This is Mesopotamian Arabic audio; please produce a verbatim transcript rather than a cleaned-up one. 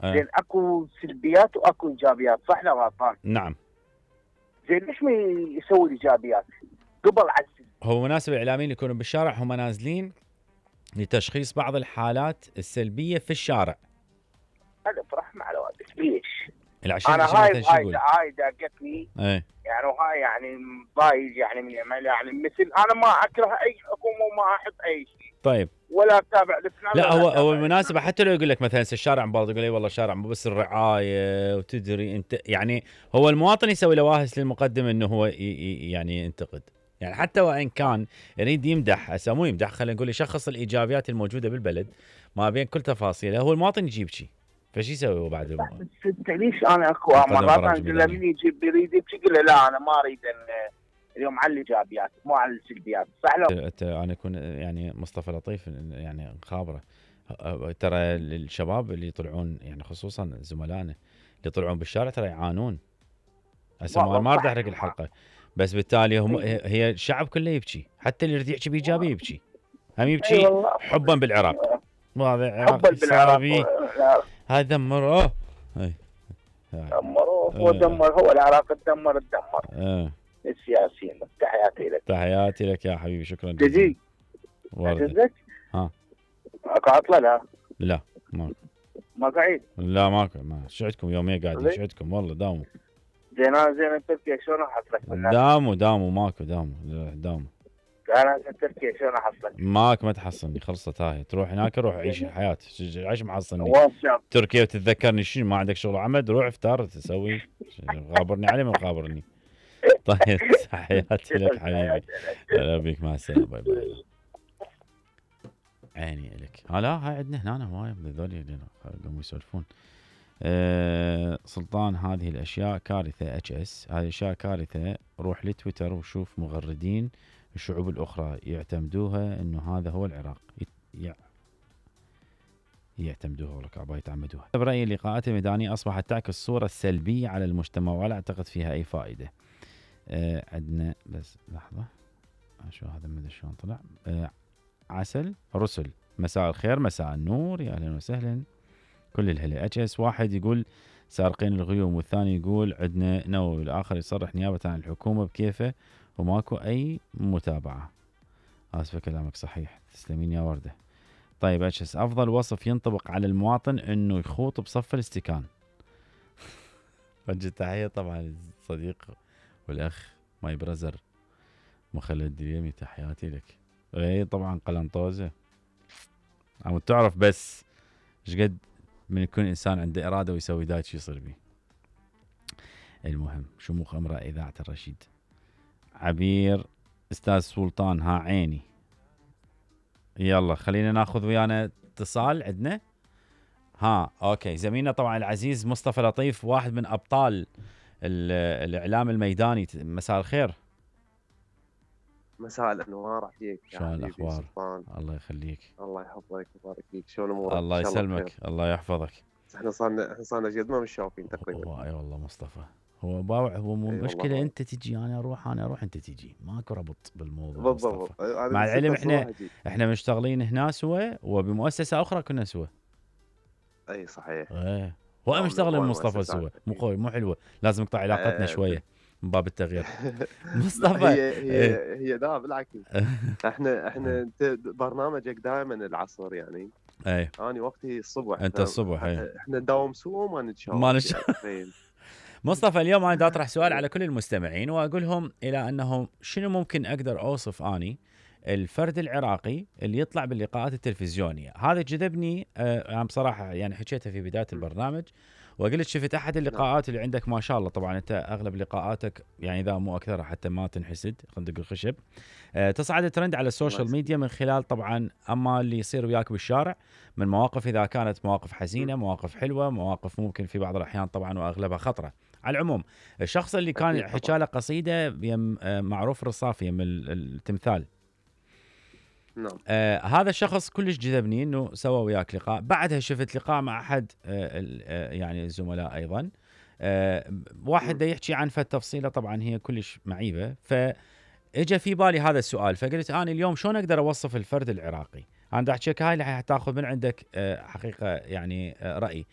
أه. زين اكو سلبيات واكو ايجابيات، صح ولا غلطان؟ نعم. زين ليش ما يسوي الايجابيات قبل عزل؟ هو مناسب الاعلاميين يكونوا بالشارع هم نازلين لتشخيص بعض الحالات السلبيه في الشارع. هذا فرح مع الوالد ليش؟ العشرين انا عشان هاي مثلا شو هاي يقول؟ هاي داقتني ايه يعني، وهاي يعني ضايج يعني من يعني مثل انا ما اكره اي حكومه وما احب اي شيء. طيب. ولا اتابع لفلان. لا هو هو المناسبه حتى لو يقول لك مثلا الشارع مبالغ، يقول لي والله الشارع مو بس الرعايه وتدري انت، يعني هو المواطن يسوي له واهس للمقدم انه هو يعني ينتقد، يعني حتى وان كان يريد يمدح، هسه مو يمدح، خلينا نقول يشخص الايجابيات الموجوده بالبلد ما بين كل تفاصيله، هو المواطن يجيب شيء، فشي يسوي هو بعد؟ بس انت ليش انا اكو مرات انا لما يجي يريد يبكي يقول له لا انا ما اريد اليوم على الايجابيات مو على السلبيات، صح لو؟ انا اكون يعني مصطفى لطيف يعني خابره، ترى الشباب اللي يطلعون يعني خصوصا زملائنا اللي يطلعون بالشارع ترى يعانون. هسه ما راح احرق الحلقه، بس بالتالي هم هي الشعب كله يبكي، حتى اللي يريد يحكي بايجابيه يبكي، هم يبكي حبا بالعراق. وهذا عراق صار هاي دمروه، هاي دمروه ودمر، هو العراق تدمر تدمر اه السياسيين. تحياتي لك. تحياتي لك يا حبيبي، شكرا جزيلا. وردك ها اكو عطله؟ لا لا ما ما قاعد. لا ماكو، ما شعتكم يومين قاعدين، شعتكم والله داوموا. زين زين تركيا شلون احصلك؟ داموا داموا ماكو داموا داموا. انا تركيا شلون احصلك؟ ماك ما تحصلني، خلصت هاي، تروح هناك روح عيش الحياه، عيش محصلني واتساب تركيا وتتذكرني شنو ما عندك شغل عمل، روح افطر تسوي غابرني عليه ما غابرني. طيب تحياتي لك حبيبي، هلا بيك، مع السلامه، باي باي. عيني لك. لا هاي عندنا هنا هوايه من ذولي قاموا يسولفون. أه سلطان هذه الاشياء كارثه، اتش اس هذه الاشياء كارثه، روح لتويتر وشوف مغردين الشعوب الاخرى يعتمدوها انه هذا هو العراق، يع... يعتمدوها لك عبا يتعمدوها. برايي اللقاءات الميدانيه اصبحت تعكس صوره سلبيه على المجتمع ولا اعتقد فيها اي فائده. أه عندنا بس لحظه شو هذا مدري شلون طلع. أه عسل رسل، مساء الخير مساء النور، يا اهلا وسهلا كل الهلا. اتش اس واحد يقول سارقين الغيوم، والثاني يقول عندنا نووي، والاخر يصرح نيابه عن الحكومه بكيفه وماكو اي متابعه. اسفه كلامك صحيح، تسلمين يا ورده. طيب اتش اس افضل وصف ينطبق على المواطن انه يخوط بصف الاستكان. وجه تحيه طبعا الصديق والاخ ماي برزر مخلد ديمي، تحياتي لك. اي طبعا قلنطوزه، عم تعرف بس ايش قد من يكون انسان عنده اراده ويسوي دايت شو يصير بيه. المهم شموخ امرأة اذاعة الرشيد. عبير استاذ سلطان ها عيني. يلا خلينا ناخذ ويانا اتصال عندنا. ها اوكي، زميلنا طبعا العزيز مصطفى لطيف، واحد من ابطال الاعلام الميداني. مساء الخير. مساء الانوار عليك. شلون الاخبار؟ الله يخليك. الله يحفظك ويبارك فيك. شلون امورك؟ الله يسلمك، الله يحفظك. احنا صارنا احنا صارنا قد ما متشافين تقريبا. اي والله مصطفى، هو باوع، هو مو مشكله انت تجي انا اروح انا اروح انت تجي، ماكو ربط بالموضوع بالضبط. مع العلم احنا احنا مشتغلين هنا سوا وبمؤسسه اخرى كنا سوا. اي صحيح. ايه هو مشتغل مصطفى سوا، مو قوي مو حلوه، لازم نقطع علاقتنا شويه من باب التغيير. مصطفى هي هي هي لا بالعكس، احنا احنا برنامجك دائما العصر يعني. اي انا وقتي الصبح، انت الصبح. اي احنا نداوم سوا وما نتشاف ما نتشاف. يعني مصطفى اليوم انا دا اطرح سؤال على كل المستمعين واقول لهم الى انه شنو ممكن اقدر اوصف اني الفرد العراقي اللي يطلع باللقاءات التلفزيونيه. هذا جذبني آه انا بصراحه، يعني حكيتها في بدايه البرنامج وقلت شفت احد اللقاءات اللي عندك ما شاء الله، طبعا انت اغلب لقاءاتك يعني اذا مو اكثر حتى ما تنحسد خندق الخشب، أه تصعد الترند على السوشيال ميديا من خلال طبعا اما اللي يصير وياك بالشارع من مواقف، اذا كانت مواقف حزينه، مواقف حلوه، مواقف ممكن في بعض الاحيان طبعا واغلبها خطره. على العموم الشخص اللي كان حكى له قصيده يم معروف الرصافي يم التمثال، نعم. آه هذا الشخص كلش جذبني انه سوى وياك لقاء. بعدها شفت لقاء مع احد آه يعني الزملاء ايضا، آه واحد دا يحكي عن فالتفصيله طبعا هي كلش معيبه، فاجى في بالي هذا السؤال، فقلت انا اليوم شلون اقدر اوصف الفرد العراقي. انا دا احكيك هاي اللي حتاخذ من عندك آه حقيقه يعني آه راي.